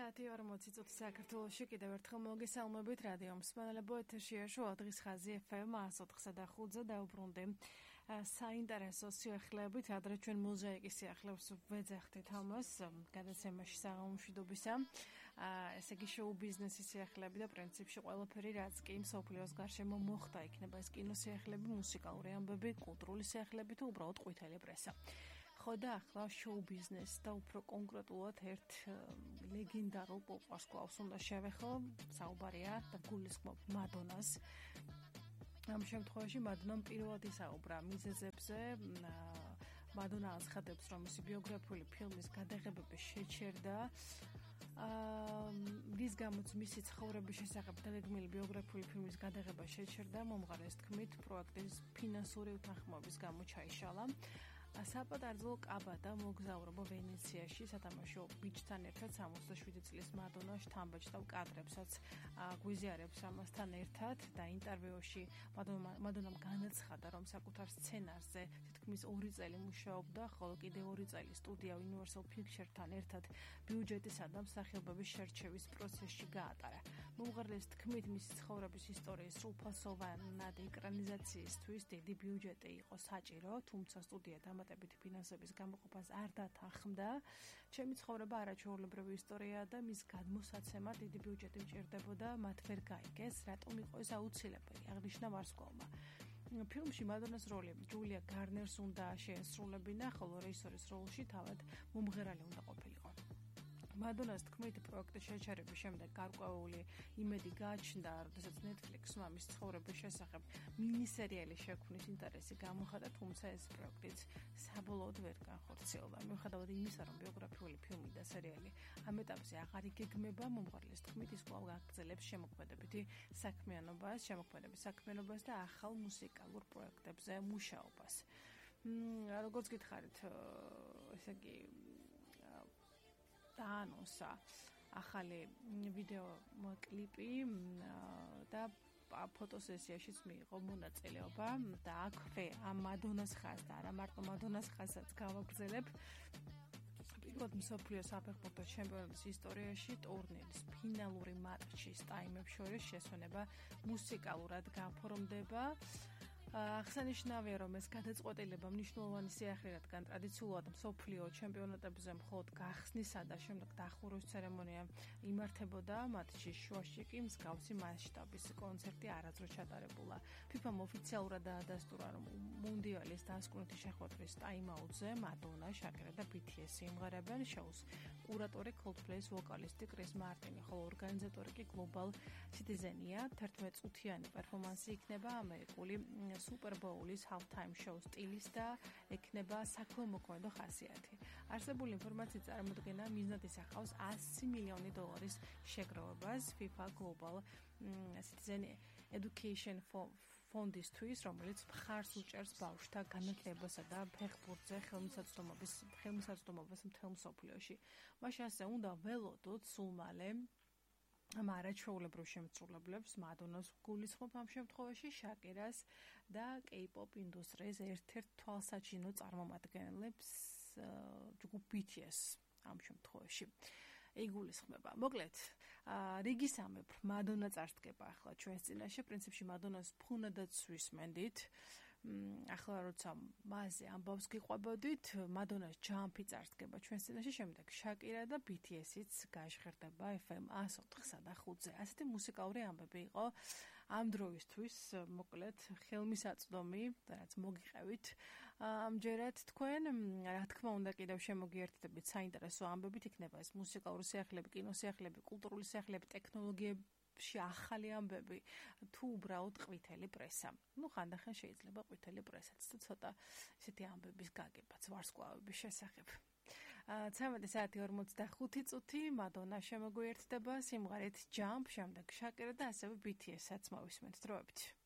საათი 40 წუთი საქართველოში კიდევ ერთხელ მოგესალმებით რადიო მსმენელებო ეთერშია შოა დღის ხაზი FM 104.5-ზე დაუბრუნდი საინტერესო სიახლეებით ადრე ჩვენ მოზაიკის სიახლეებს ვეძახდით ამას გადაცემაში საღამომშვიდობისა ესე იგი შოუ ბიზნესის სიახლეები და პრინციპში ყველაფერი რაც კი მსოფლიოს გარშემო მოხდა იქნება ეს კინოსიახლეები, მუსიკალური ამბები, კულტურული სიახლეები თუ უბრალოდ ყვითელი პრესა ხო და ახლა შოუ ბიზნეს და უფრო კონკრეტულად ერთ ლეგენდარულ პოპ ვარსკვლავს უნდა შევეხო, საუბარია და გულისხმობ მადონას. ამ შემთხვევაში მადონამ პირველად ისაუბრა მიზეზებზე, მადონა აცხადებს, რომ მისი ბიოგრაფიული ფილმის გადაღებები შეჩერდა. რის გამოც მისი ცხოვრების შესახებ დაგეგმილი ბიოგრაფიული ფილმის გადაღება შეჩერდა, მომღერლის თქმით, პროექტის ფინანსური უთანხმოების გამო ჩაიშალა. საპატარძლო კაბადა მოგზაურობა ვენეციაში სათამაშო ბიჭთან ერთად 67 წლის მადონა შთამბეჭდავ კადრებსაც გვიზიარებს ამასთან ერთად და ინტერვიუში მადონამ განაცხადა, რომ საკუთარ სცენარზე თითქმის 2 წელი მუშაობდა, ხოლო კიდევ 2 წელი სტუდია Universal Pictures-თან ერთად ბიუჯეტისა და მსახიობების შერჩევის პროცესში გაატარა. მომღერლის თქმით, მისი ცხოვრების ისტორიის სრულფასოვანად ეკრანიზაციისთვის დიდი ბიუჯეტი იყო საჭირო, თუმცა სტუდია დამატებითი ფინანსების გამოყოფას არ დათანხმდა. ჩემი ცხოვრება არაჩვეულებრივი ისტორიაა და მის გადმოსაცემად დიდი ბიუჯეტი მჭირდებოდა, მათ ვერ გაიგეს, რატომ იყო ეს აუცილებელი, აღნიშნა ვარსკვლავმა. ფილმში მადონას როლი ჯულია გარნერს უნდა შეესრულებინა, ხოლო რეჟისორის როლში თავად მომღერალი უნდა ყოფილიყო. მადონას თქმით, პროექტის შეჩერების შემდეგ გარკვეული იმედი გააჩნდა, როდესაც Netflix-მა მის ცხოვრების შესახებ მინისერიალი შექმნის ინტერესი გამოხატა, თუმცა ეს პროექტიც საბოლოოდ ვერ განხორციელდა. მიუხედავად იმისა, რომ ბიოგრაფიული ფილმი და სერიალი ამ ეტაპზე აღარ იგეგმება, მომღერლის თქმით, ის კვლავ გაგრძელებს შემოქმედების საქმიანობას და ახალ მუსიკალურ პროექტებზე მუშაობას. როგორც გითხარით, ესე იგი დაანონსა ახალი ვიდეო კლიპი და ფოტოსესიაშიც მიიღო მონაწილეობა და აქვე ამ მადონას ხაზს და არა მარტო მადონას ხაზსაც გავაგრძელებ. პირველად მსოფლიო საფეხბურთო ჩემპიონატის ისტორიაში ტურნირის ფინალური მატჩის ტაიმებს შორის შესვენება მუსიკალურად გაფორმდება. აღსანიშნავია, რომ ეს გადაწყვეტილება მნიშვნელოვანი სიახლე, რადგან ტრადიციულად მსოფლიო ჩემპიონატებზე მხოლოდ გახსნისა და შემდეგ დახურვის ცერემონია იმართებოდა, მატჩის შუაში კი მსგავსი მასშტაბის კონცერტი არასდროს ჩატარებულა. FIFA-მ ოფიციალურად დაადასტურა, რომ მუნდიალის დასკვნითი შეხვედრის ტაიმაუტზე მადონა, შაკერა და BTS იმღერებენ. შოუს კურატორი Coldplay-ის ვოკალისტი კრის მარტინი, ხოლო ორგანიზატორი კი Global Citizen-ია. 11 წუთიანი პერფორმანსი იქნება ამერიკული Super Bowl-ის halftime show სტილის და ექნება საქველმოქმედო ხასიათი. არსებული ინფორმაციით წარმოდგენა მიზნად ისახავს $100 მილიონი შეგროვებას FIFA Global Citizen Education Fund-ისთვის, რომელიც მხარს უჭერს ბავშვთა განათლებასა და ფეხბურთზე ხელმისაწვდომობას მთელ მსოფლიოში. მაშინ ასე უნდა ველოდოთ სულ მალე ამ არაჩვეულებრივ შემსრულებლებს მადონას გულისხმობ ამ შემთხვევაში შაკერას და K-pop ინდუსტრიის ერთ-ერთ თვალსაჩინო წარმომადგენლებს ჯგუფ BTS ამ შემთხვევაში იგულისხმება. მოკლედ, რიგისამებრ მადონა წარსდგება ახლა ჩვენს წინაშე, პრინციპში მადონას ფუნადაც ვისმენდით. ახლა როცა მასზე ამბავს გიყვებოდით, მადონას ჯამპი წარსდგება ჩვენს წინაშე, შემდეგ შაკერა და BTS-იც გაჟღერდება FM 104.5-ზე. ასეთი მუსიკალური ამბები იყო ამ დროისთვის, მოკლედ, ხელმისაწვდომი, რაც მოგიყევით ამჯერად თქვენ. რა თქმა უნდა, კიდევ შემოგიერთდებით საინტერესო ამბებით, იქნება ეს მუსიკალური სიახლეები, კინოსიახლეები, კულტურული სიახლეები, ტექნოლოგიები, ახალი ამბები თუ უბრალოდ ყვითელი პრესა. ხანდახან შეიძლება ყვითელი პრესაც და ცოტა ისეთი ამბების გაგებაც ვარსკვლავების შესახებ. 13 საათი 45 წუთი მადონა შემოგვიერთდება სიმღერით Jump, შემდეგ შაკერა და ასევე BTS-აც მოვისმენთ დროებით.